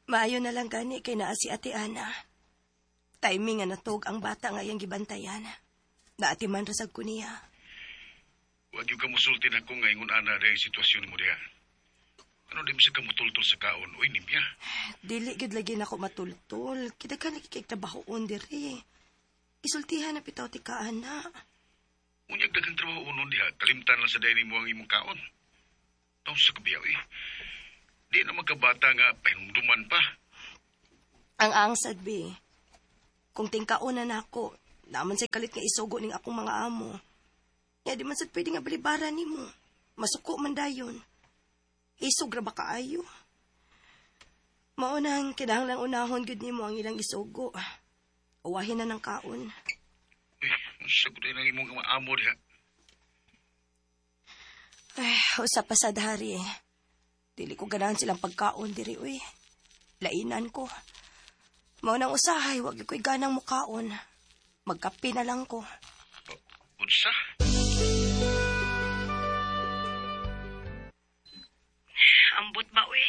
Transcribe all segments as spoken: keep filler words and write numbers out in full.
Maayo na lang gani kay naa si Ate Ana. Timing nga natog ang bata nga iyang gibantayan. Naatiman ra sad ko niya. Wa gyud ka musulti nako nga ingon ana dahil sitwasyon mo diha. Ano di bisag ka mutultol sa kaon, uy nimya. Dili gyud lagi nako matultol. Kidaghan lagi kay trabahoon diri. Isultihan na bitaw ti ka ana. Unyag daghang trabaho unon diha, kalimtan lang sa dayni mo ang imong kaon. Taw sa kabiyaw eh. Di na magkabata nga pahinumduman pa. Ang angsad be. Kung tingkaon na nako, naman say kalit nga isugo ning akong mga amo. Ya di man sad pwede nga balibaran nimo. Masuko man dayon. Isog ra ba kaayo? Mao nang kinahanglang unahon gud nimo ang ilang isugo. Uwahin na ng kaon. Uy, sagot ang imong mga amo diha. Ay, usa pa sad hari. Dili ko ganahan silang pagkaon diri uy. Lainan ko. Mao nang usahay, wag ko'y ganang mukaon. Magkape na lang ko. Unsa? Ambot ba uy?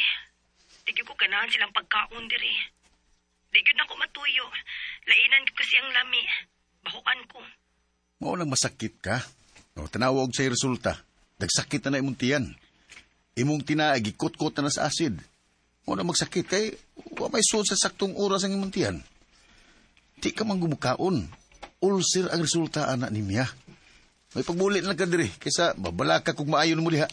Di gyud ko ganahan silang pagkaon diri. Di gyud na ko matuyo. Lainan ko kasi ang lami. Bahuan ko. Mao nang masakit ka. O, tanawag sa resulta. Nagsakit na na imong tiyan. Imong tinaag, gikot-kot na na sa acid. Mao na magsakit kay wa may suod sa saktong oras ang imong tiyan. Di ka man gumukaon. Ulcer ang resulta, anak ni Mia. May pagbulit na ka diri, kaysa babala ka kung maayo mo diha.